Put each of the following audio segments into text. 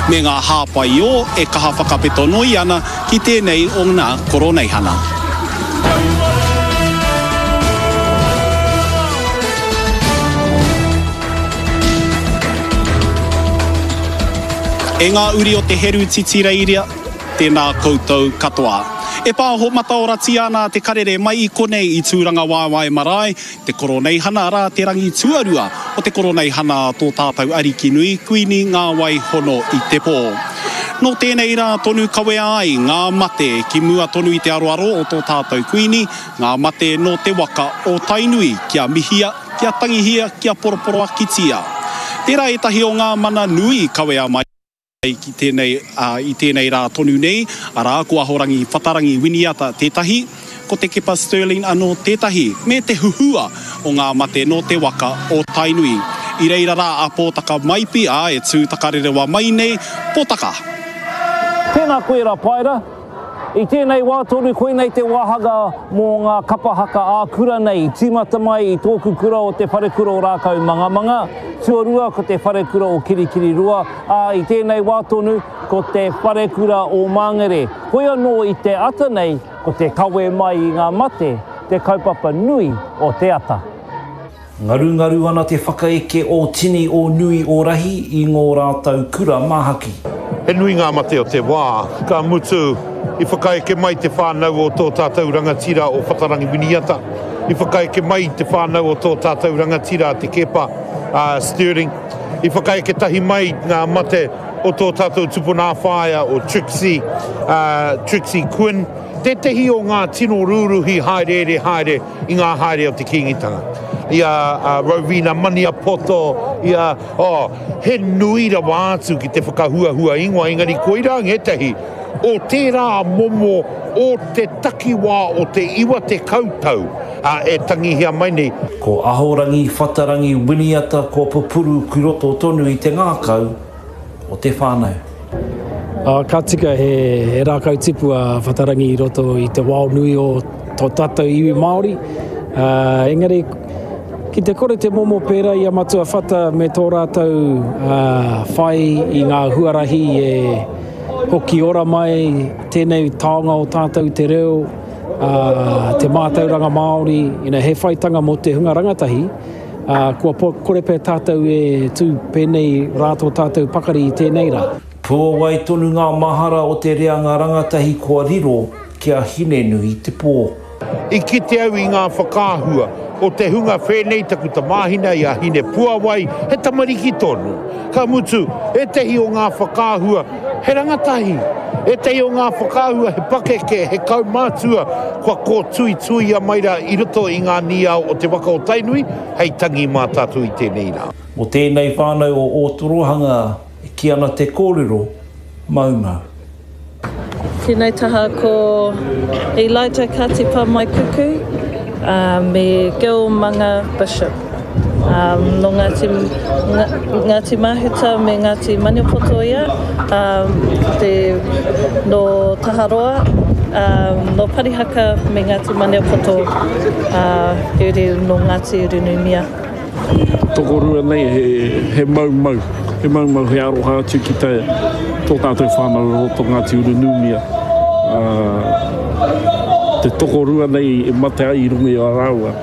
me ngā hāpai ō e kaha whakapeto noi ana ki tēnei o ngā Koroneihana. E ngā uri o te Heru Titireiria, tēnā koutou katoa. E pāho mataoratia ana te karere mai i konei i Tūrangawaewae Marae, te Koroneihana, arā, te rangi tuarua o te Koroneihana a tō tātou Ariki nui, Kuini Ngā Wai Hono i te Pō. Nō tēnei rā tonu kawea ai ngā mate ki mua tonu i te aroaro o tō tātou Kuini, ngā mate nō te waka o Tainui, kia mihia, kia tangihia, kia poroporoakitia. Tērā ētahi o ngā mana nui kawea mai ki tēnei, ā, i tēnei rā tonu nei, arā, ko Ahorangi Whatarangi Winiata tētahi, ko Te Kepa Stirling anō tētahi, me te huhua o ngā mate nō te waka o Tainui. I reira rā a Pōtaka Maipi, ā, e tū takarerewa mai nei, Pōtaka! Tēnā koe Rapaera. I tēnei wā tonu koinei te wāhanga mō ngā kapa haka ā-kura nei i tīmata mai i tōku kura o Te Wharekura o Rākaumangamanga, tuarua ko Te Wharekura o Kirikiriroa, ā, i tēnei wā tonu ko Te Wharekura o Māngere. Hoi anō i te ata nei ko te kawe mai i ngā mate te kaupapa nui o te ata. Ngarungaru ana te whakaeke o tini o nui o rahi i ngō rātou kura māhaki. He nui ngā mate o te wā, ka mutu, i whakaeke mai te whānau o tō tātou rangatira o Whatarangi Winiata, i whakaeke mai te whānau o tō tātou rangatira a Te Keepa, a Stirling, i whakaeke tahi mai ngā mate o tō tātou tupuna whaea o Trixie, a Trixie Quinn, tētehi o ngā tino rūruhi hāereere haere i ngā haere o te Kīngitanga, i a Rowena Maniapoto, i a, oh, he nui rawa atu ki te whakahuahua ingoa, engari koirā ngētehi o tērā momo o te takiwā o te 90 tau e tangihia mai nei. Ko Ahorangi Whatarangi Winiata kua pupuru ki roto tonu i te ngākau o te whānau. Ka tika he rākau tipu a Whatarangi i roto i te wao nui o tō tātou iwi Māori. Engari, ki te kore te momo pērā i a Matua Whata me tō rātou whai i ngā huarahi e hoki ora mai tēnei taonga o tātou te reo, te mātauranga Māori, he whaitanga mō te hunga rangatahi. Ā, kua kore pea tātou e tū pēnei rā tō tātou pakari i tēnei rā. Puawai tonu ngā mahara o te reanga rangatahi kua riro ki a Hinenui te pō. I kite au i ngā whakaahua o te hunga whēnei taku tamāhine i a Hinepuawai, he tamariki tonu. Ka mutu, ētehi o ngā whakaahua he rangatahi, ētehi o ngā whakaahua he pakeke, he kaumātua kua kōtuituia mai rā i roto i ngā nīao o te waka o Tainui hei tangi mā tātou i tēnei rā. Mō tēnei whānau o Ōtorohanga e kī ana te kōrero, maumau. Tēnei taha ko Elijah Katipa Maikuku me Gil Manga Bishop. Nō Ngāti, Ngāti Mahuta me Ngāti Maniapoto ia, te, nō Taharoa, nō Parihaka me Ngāti Maniapoto, he uri nō Ngāti Urunumia. Tokorua nei he maumau, he maumau, he aroha atu ki te, tō tātou whānau o roto Ngāti Urunumia. Te tokorua nei e mate ai i runga i a rāua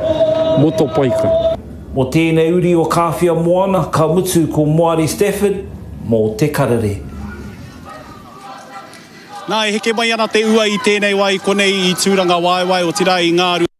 motopaika. Mō tēnei uri o Kāwhia Moana, ka mutu ko Moari Stafford mō Te Karere. Nā, e heke mai ana te ua i tēnei wā i konei i Tūrangawaewae, otirā i Ngāruawāhia.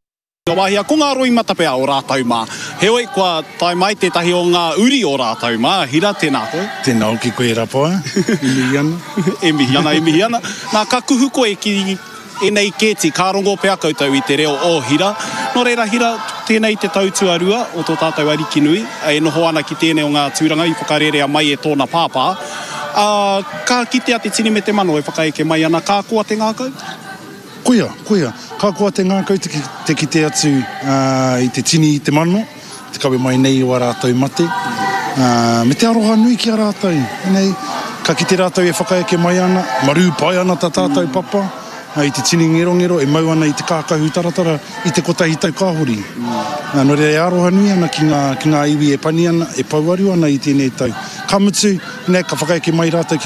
Wāhia, ko ngā roimata pea o rātou mā. Heoi, kua tae mai tētahi o ngā uri o rātou mā. Hira, tēnā koe. Tēnā hoki koe Rapoa, e mihi ana. E mihi ana, e mihi ana. Nā, ka kuhu koe ki ēnei kēti, ka rongo pea koutou i te reo o Hira. Nō reira, Hira, tēnei te tau tuarua o tō tātou Arikinui, e noho ana ki tēnei o ngā tūranga i whakarērea mai e tōna pāpā. Ā, ka kitea te tini me te mano e whakaeke mai ana, ka koa te ngākau? Koia, koia. Ka koa te ngākau te kite atu i te tini i te mano, te kawe mai nei o a rātou mate, me te aroha nui ki a rātou. Nei, ka kite rātou e whakaeke mai ana, marū pai ana tā tātou papa, i te tini ngerongero e mau ana i te kākahu taratara i te kotahi tau ka hori. Nō reira e aroha nui ana ki ngā, ki ngā iwi e pani ana, e pouaru ana i tēnei tau. Ka mutu, nei, ka whakaeke mai rātou ki.